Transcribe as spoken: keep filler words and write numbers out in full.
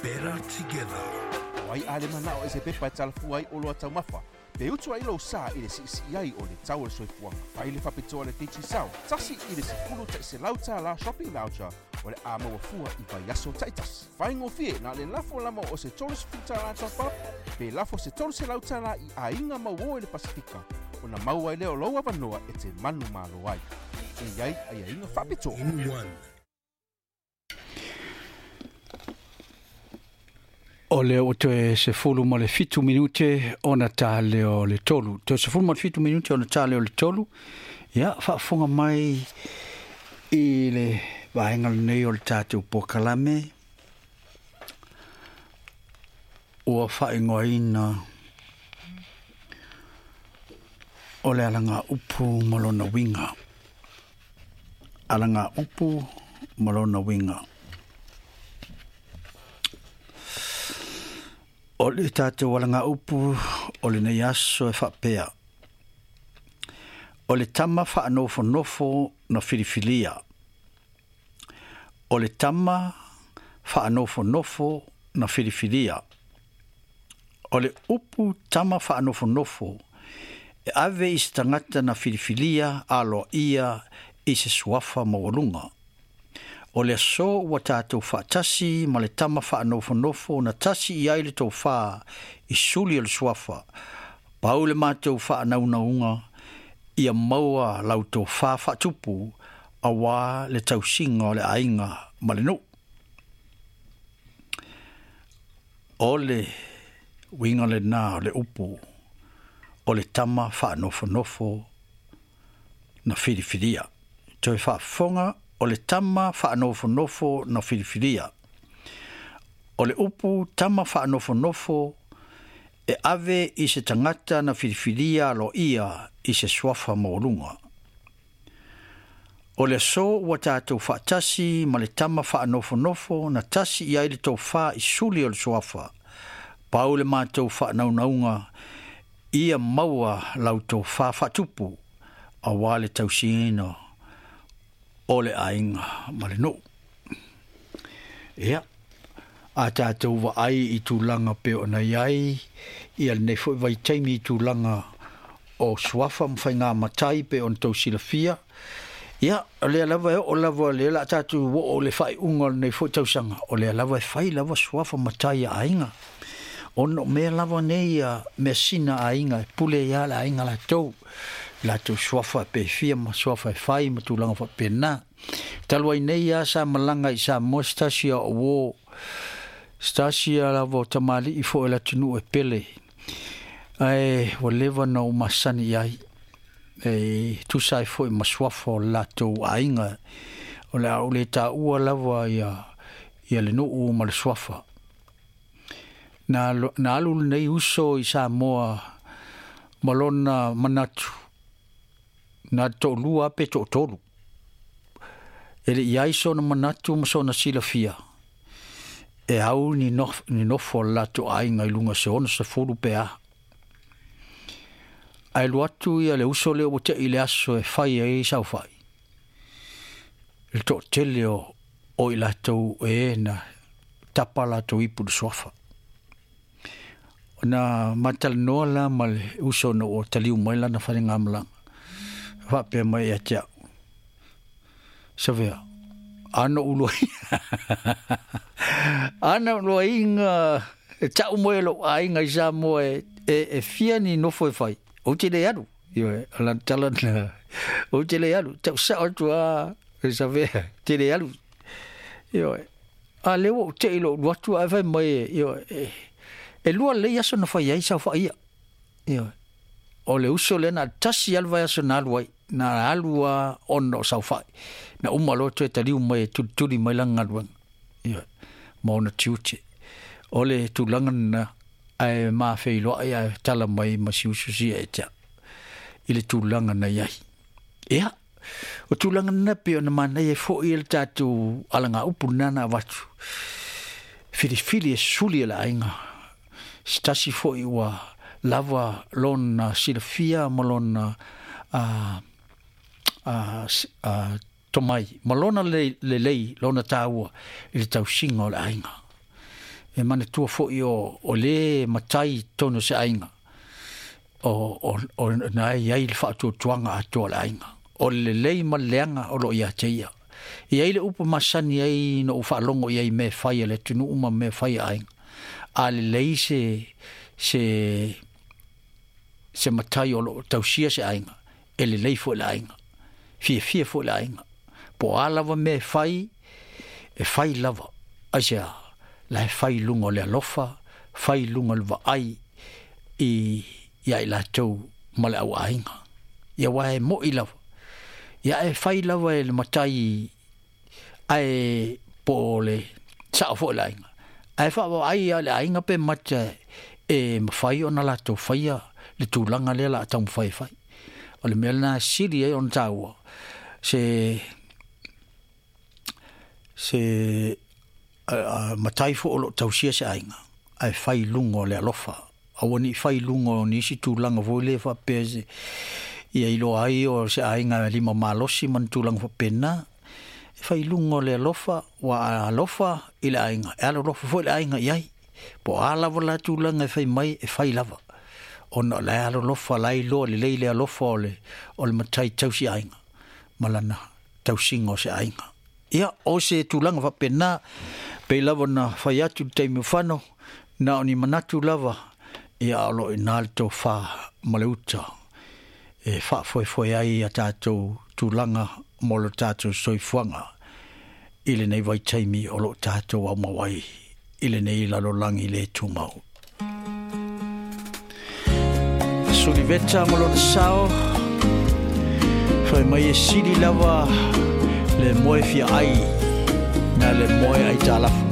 Better together. Wai ale manao e se pepa e talafua ai o loa taumafa. Pe utu ai lou sa i le siisii ai o le tau o le soifuaga. Fai le faapitoa le Digicel, tasi i le sefulu ta'iselau tālā shopping voucher o le a maua fua i vaiaso ta'itasi. Faigofie na le lafo lama o se tolu sefulu tālā top up, pe lafo se tolu selau tālā i aiga mauō i le Pasifika, ona maua ai lea o lou avanoa e te manumalo ai. E i ai aiaiga faapitoa. In one. O le o toe sefulu ma le fitu minute ona tā leo le tolu. Toe sefulu ma le fitu minute ona tā leo le tolu. Ia, faafofoga mai i le vaega lenei o le tatou polokalame. Ua faaigoaina o le alaga upu ma lona uiga. Alaga upu ma lona uiga. O le tatou alaga upu o lenei aso e faapea. O le tama faanofonofo na filifilia. O le tama faanofonofo na filifilia. O le upu tama faanofonofo e ave i se tagata na filifilia aloaia i se suafa maualuga. O le aso ua tatou faatasi ma le tama faanofonofo na tasi i ai le tofā i suli o le suafa. Pau le matou faanaunauga ia maua lau tofā faatupu auā le tausiga o le aiga ma le nuu. O le uiga lenā o le upu o le tama faanofonofo na filifilia. Toe faafofoga o le tama faanofonofo na filifilia. O le upu tama faanofonofo e ave i se tagata na filifilia aloaia i se suafa maualuga. O le aso ua tatou faatasi ma le tama faanofonofo na tasi i ai le tofā i suli o le suafa. Pau le matou faanaunauga ia maua lau tofā faatupu auā le tausiga o le aiga ma le nuu. Ia, a tatou vaai i tulaga pe ona i ai ia lenei foi vaitaimi i tulaga o suafa ma faiga matai pe ona tou silafia. Ia, o lea lava e oo lava lea la tatou oo le faaiuga o lenei foi tausaga. O lea lava e fai lava suafa matai a aiga. Ona o mea lava nei ia measina a aiga e pule ia le aiga latou. Latou suafa pe fia ma suafa e fai ma tulaga faapena. Talu ai nei a sa malaga i Samoa se tasi a o uō. Se tasi a lava o tamalii foi le atunuu e pele. Ae ua leva na ou masani i ai. E tusa ai foi ma suafa o le latou aiga. O le a ou le taua lava ia, ia le nuu ma le suafa. Na, na alu lenei uso i Samoa ma lona manatu. Na to'olua pe to'atolu. E le i ai sona manatu ma sona silafia. E au ni nof, ni nofo o le latou aiga i luga se ono sefulu pe a. Ae alu atu ia le uso lea ua te'i le aso e fai ai saofai. Le to'atele o, o i latou e na tapa latou ipu le suafa. Na matalanoa la ma le uso na ua taliu mai lana falegamalaga. Faapea mai ia te au. Savea, ana ou ana ou luaiga e ta'u mai e lo'u aiga i Samoa e, e, e fia ni nofo e fai. Ou te le alu. Ioe, o lana tala na. Ou te le alu. Ta'u sa'o atu a, e Savea, te le alu. Ioe, a lea ua ou te'i lo'u alu atu ae fai mai e, ioe, e, e lua lelei aso na fai ai saofa'i ia. Ioe, o le uso lea na tasi alu vaiaso na alu ai. Na alu a ona o saofa'i. Na uma loa toe taliu mai e tulituli mai lana galuega. Ioe, ma ona tiute. O le tulaga lena ae mafeiloai ae tala mai ma si uso sia e te au i le tulaga na i ai. Ia, o tulaga lena pei ona manaia ai foi e le tatou alagaupu lena na avatu. Filifili e suli e le aiga. Se tasi foi ua lava lona silafia ma lona a, a, a, tomai, ma lona lelei, lona taua i le tausiga o le aiga. E manatua fo'i o, o lē matai tonu se aiga o, o, o na e iai le faatuatuaga atoa le aiga o le lelei ma le leaga o loo ia te ia. Ia i le upu masani ai no u faalogo i ai mea fai a le atunuu ma mea fai a aiga. A lelei se se se matai o loo tausia se aiga, e lelei fo'i le aiga, fiafia fo'i le aiga. Po o a lava mea e fai, e fai lava. Aisea? La e fai i luga o le alofa, fai i luga o le vaai i ia i latou ma le auaiga. Ia aua e mo'i lava. Ia e fai lava e le matai ae po o le sao fo'i le aiga. Ae faavaai a le aiga pe mata e mafai ona latou faia le tulaga lea la taumafai e fai. O le mea lena e sili ai ona taua se se uh, matai fo o loo tausia se aiga ae fai i luga o le alofa. Aua nei fai i luga o nisi tulaga foi lea faapea se ia iloa ai o se aiga lima malosi ma ni tulaga faapena. E fai i luga o le alofa, ua alofa i le aiga, e alolofa foi le aiga i ai. Po o a lava la tulaga e fai mai, e fai lava. Ona o la e alolofa, la e iloa lelei le alofa o le, o le matai tausi aiga ma lana tausiga o se aiga. Ia, o se tulaga faapena, pei lava na fai atu le taimi o fano, na o ni manatu lava, ia o loo i ina le tofā ma le uta e faafoefoe ai a tatou tulaga mo lo tatou soifuaga i lenei vaitaimi o loo tatou aumau ai i lenei lalolagi le tumau. Suliveta ma lona sao, fai mai e sili lava le moe fia ai na le moe ai talafu.